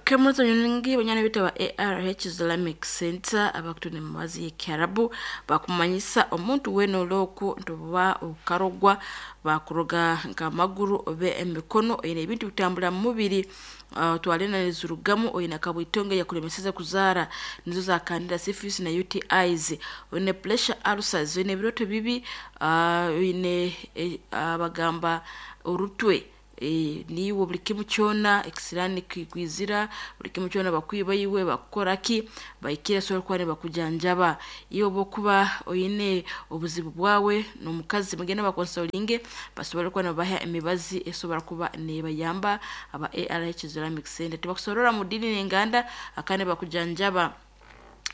Kemuzo nyingi banyana bitu ba ARH Islamic Center abakutune mumazi y'Ekiarabu bakumanyisa omuntu weena olwoku nti oba okarogwa bakuroga nk'amaguru oba emikono oine ebintu bitambura mu mubiri otware nizirugamu oine akabwitongo yakulemeseze kuzaara nizo za candida syphilis na UTIs oine pressure ulcers oine ebiroto bibi oine bagamba orutwe niiwe buri kimu kyona ekisiraani kikwizira buri kimu kyona bakwiba iwe bakukora ki bahikire basobora kuba nibakujanjaba. Iwe obu okuba oine obuzibu bwawe n'omukazi mugende bakonsolinge basobole kuba nibabaha emibazi esobora kuba neebayamba aba ARH Islamic Center. Tibakusorora mu diini n'enganda kandi bakujanjaba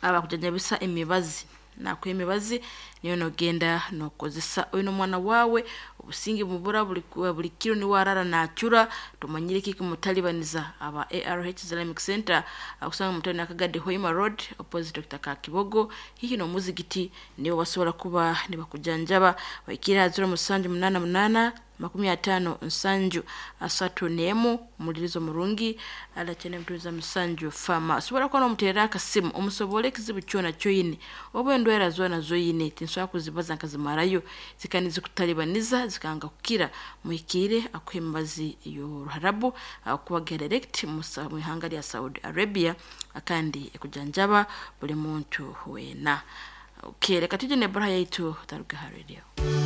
abakujanjabisa emibazi nakuha emibazi niyo nogenda nokozesa. Oine omwana waawe obusinge bubura buri kiro niwe arara nacura tomanyire kiki mutalibaniza aba ARH Islamic Center akusanga mutano Nakagadi Hoima Road opposite Dr. Kakibogo hihi n'omuzigiti nibo basobora kuba nibakujanjaba. Bahikire ha 0788 50 7 31 omulirizo murungi alakyene mutuuza musanju fama. Osobora kuba nomuteerera akasimu omusobole ekizibu kyona kyoine oba endwara zoona zoine tinsobola kuzibaza nkazimarayo zikaba nizikutalibaniza zikanga kukira muhikiire akuha emibazi y'oruharabu akuba direct mu ihanga lya Saudi Arabia kandi ekujanjaba buli muntu weena. Okay, reka tujye n'eburaha yaitu taruga ha radio.